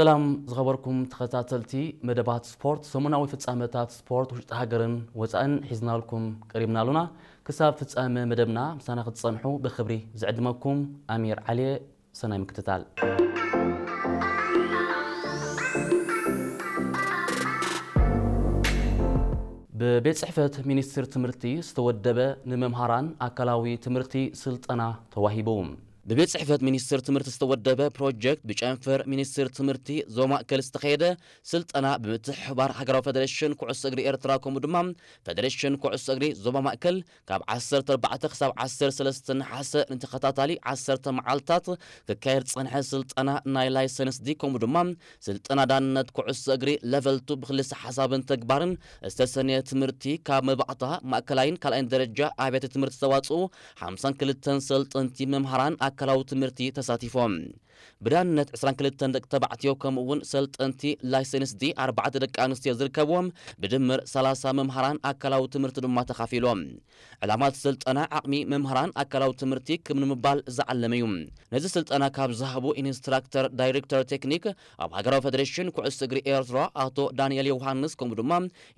ሰላም ዝኸበርኩም ተኸታተልቲ መደባት ስፖርት፣ ሰሙናዊ ፍጻመታት ስፖርት ውሽጢ ሃገርን ወጻእን ሒዝናልኩም ቀሪብና ኣሉና። ክሳብ ፍጻመ መደብና ምሳና ክትጸንሑ ብኽብሪ ዝዕድመኩም ኣሚር ዓሊየ። ሰናይ ምክትታል። ብቤት ጽሕፈት ሚኒስትር ትምህርቲ ዝተወደበ ንመምሃራን ኣካላዊ ትምህርቲ ስልጠና ተዋሂቡ። ብቤት ጽሕፈት ሚኒስትር ትምህርቲ ዝተወደበ ፕሮጀክት ብጨንፈር ሚኒስትር ትምህርቲ ዞባ ማእከል ዝተኸየደ ስልጠና ብምትሕብባር ሃገራዊ ፌደሬሽን ኩዕሶ እግሪ ኤርትራ ከምኡ ድማ ፌደሬሽን ኩዕሶ እግሪ ዞባ ማእከል ካብ ዓሰርተ ኣርባዕተ ክሳብ ዓሰርተ ሰለስተ ነሓሰ ንተኸታታሊ ዓሰርተ መዓልታት ክካየድ ዝጸንሐ ስልጠና ናይ ላይሰንስ ዲ ከምኡ ድማ ስልጠና ዳንነት ኩዕሶ እግሪ ለቨል ቱ ብክልሰ ሓሳብን ተግባርን ዝተሰነየ ትምህርቲ ካብ መባእታ ማእከላይን ካልኣይን ደረጃ ኣብያተ ትምህርቲ ዝተዋጽኡ ሓምሳን ክልተን ሰልጠንቲ መምሃራን ኣካላዊ ትምህርቲ ተሳቲፎም። ብዳንነት ዕስራን ክልተን ደቂ ተባዕትዮ ከምኡ እውን ሰልጠንቲ ላይሰንስ ዲ ኣርባዕተ ደቂ ኣንስትዮ ዝርከብዎም ብድምር ሰላሳ መምሃራን ኣካላዊ ትምህርቲ ድማ ተኻፊሎም። ዕላማ እቲ ስልጠና ዓቕሚ መምሃራን ኣካላዊ ትምህርቲ ክብ ንምባል ዝዓለመ እዩ። ነዚ ስልጠና ካብ ዝሃቡ ኢንስትራክተር ዳይሬክተር ቴክኒክ ኣብ ሃገራዊ ፌደሬሽን ኩዕሶ እግሪ ኤርትራ ኣቶ ዳንኤል ዮሃንስ ከምኡ ድማ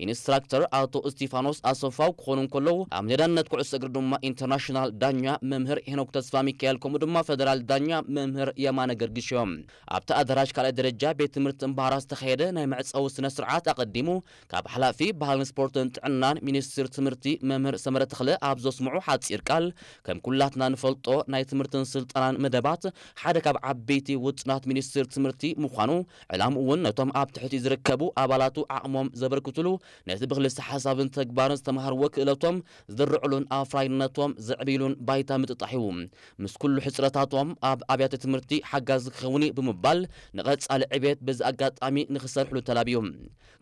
ኢንስትራክተር ኣቶ እስቲፋኖስ ኣሰፋው ክኾኑ እንከለዉ ኣብ ሜዳነት ኩዕሶ እግሪ ድማ ኢንተርናሽናል ዳኛ መምህር ሄኖክ ተስፋ ሚካኤል ከምኡ ድማ ፌደራል ዳኛ መምህር የማነ ገርግሽ እዮም። ኣብቲ ኣዳራሽ ካልኣይ ደረጃ ቤት ትምህርቲ እምባራ ዝተኻየደ ናይ መዕጸዊ ስነ ስርዓት ኣቐዲሙ ካብ ሓላፊ ባህልን ስፖርትን ጥዕናን ሚኒስትር ትምህርቲ መምህር ሰመረ ተኽለ ኣብ ዘስምዑ ሓጺር ቃል ከም ኩላትና ንፈልጦ ናይ ትምህርትን ስልጠናን መደባት ሓደ ካብ ዓበይቲ ውጥናት ሚኒስትር ትምህርቲ ምዃኑ ዕላምኡ እውን ነቶም ኣብ ትሕቲ ዝርከቡ ኣባላቱ ዓቕሞም ዘበርክትሉ ነቲ ብክልሰ ሓሳብን ተግባርን ዝተምሃርዎ ክእለቶም ዝድርዕሉን ኣፍራይነቶም ዘዕብይሉን ባይታ ምጥጣሕ እዩ። ምስ ኩሉ ሕፅረታቶም ኣብ ኣብያተ ትምህርቲ ሓጋዚ ክኸውን እዩ ብምባል ንቐፃሊ ዕቤት በዚ ኣጋጣሚ ንክሰርሕሉ ተላብዩ።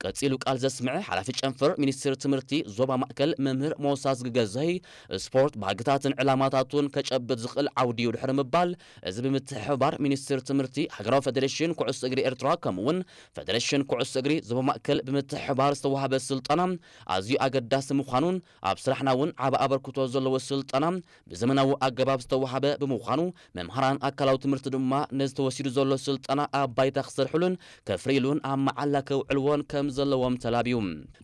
ቀፂሉ ቃል ዘስምዐ ሓላፊ ጨንፈር ሚኒስትር ትምህርቲ ዞባ ማእከል መምህር ሞሳ ዝግገዘይ ስፖርት ባህግታትን ዕላማታቱን ከጨብጥ ዝኽእል ዓውዲ እዩ ድሕሪ ምባል እዚ ብምትሕብባር ሚኒስትር ትምህርቲ ሃገራዊ ፌደሬሽን ኩዕሶ እግሪ ኤርትራ ከምኡ እውን ፌደሬሽን ኩዕሶ እግሪ ዞባ ማእከል ብምትሕብባር ዝተዋህበ ስልጠና ኣዝዩ ኣገዳሲ ምዃኑን ኣብ ስራሕና እውን ዓቢ ኣበርክቶ ዘለዎ ስልጠና ብዘመናዊ ኣገባብ ዝተዋህበ ብምዃኑ መምሃራን ኣካላዊ ትምህርቲ ድማ ነዚ ተወሲዱ ዘሎ ስልጠና ኣብ ባይታ ክሰርሕሉን ከፍርይሉን ኣብ መዓላ ከውዕልዎን ከም ዘለዎም ተላብዩ።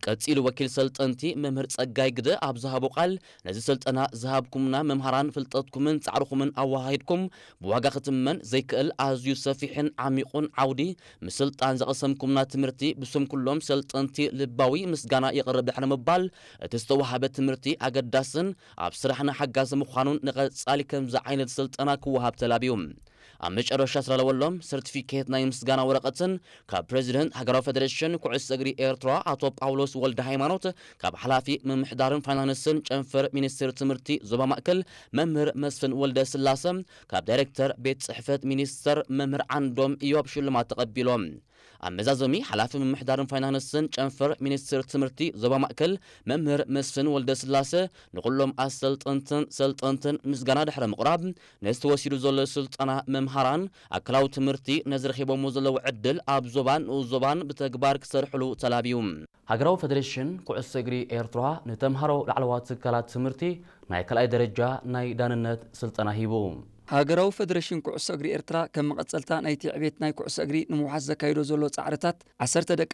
ቀጺሉ ወኪል ሰልጠንቲ መምህር ጸጋይ ግደ ኣብ ዝሃቦ ቃል ነዚ ስልጠና ዝሃብኩምና መምሃራን ፍልጠትኩምን ጻዕርኹምን ኣወሃሂድኩም ብዋጋ ክትመን ዘይክእል ኣዝዩ ሰፊሕን ዓሚቑን ዓውዲ ምስልጣን ዘቐሰምኩምና ትምህርቲ ብስም ኩሎም ሰልጠንቲ ልባዊ ምስጋና የቕርብ ድሕሪ ምባል እቲ ዝተዋሃበ ትምህርቲ ኣገዳስን ኣብ ስራሕና ሓጋዚ ምዃኑን ንቐጻሊ ከምዚ ዓይነት ስልጠና ክወሃብ ተላብዩ። ኣብ መጨረሻ ዝተዳለወሎም ሰርቲፊኬት ናይ ምስጋና ወረቐትን ካብ ፕሬዚደንት ሃገራዊ ፌደሬሽን ኩዕሶ እግሪ ኤርትራ ኣቶ ጳውሎስ ወልደ ሃይማኖት፣ ካብ ሓላፊ ምምሕዳርን ፋይናንስን ጨንፈር ሚኒስትር ትምህርቲ ዞባ ማእከል መምህር መስፍን ወልደ ስላሰ፣ ካብ ዳይሬክተር ቤት ጽሕፈት ሚኒስተር መምህር ዓንዶም ኢዮብ ሽልማት ተቐቢሎም። ኣብ መዛዘሚ ሓላፊ ምምሕዳርን ፋይናንስን ጨንፈር ሚኒስትር ትምህርቲ ዞባ ማእከል መምህር መስፍን ወልደ ስላሰ ንኹሎም ኣሰልጠንትን ሰልጠንትን ምስጋና ድሕሪ ምቕራብ ነዚ ተወሲዱ ዘሎ ስልጠና መምሃራን ኣካላዊ ትምህርቲ ነዚ ረኺቦሞ ዘለዉ ዕድል ኣብ ዞባን ንኡስ ዞባን ብተግባር ክሰርሕሉ ተላብዩ። ሃገራዊ ፌደሬሽን ኩዕሶ እግሪ ኤርትራ ንተምሃሮ ላዕለዋት ትካላት ትምህርቲ ናይ ካልኣይ ደረጃ ናይ ዳንነት ስልጠና ሂቡ። ሃገራዊ ፌደሬሽን ኩዕሶ እግሪ ኤርትራ ከም መቐጸልታ ናይቲ ዕቤት ናይ ኩዕሶ እግሪ ንምውሓስ ዘካይዶ ዘሎ ጻዕርታት ዓሰርተ ደቂ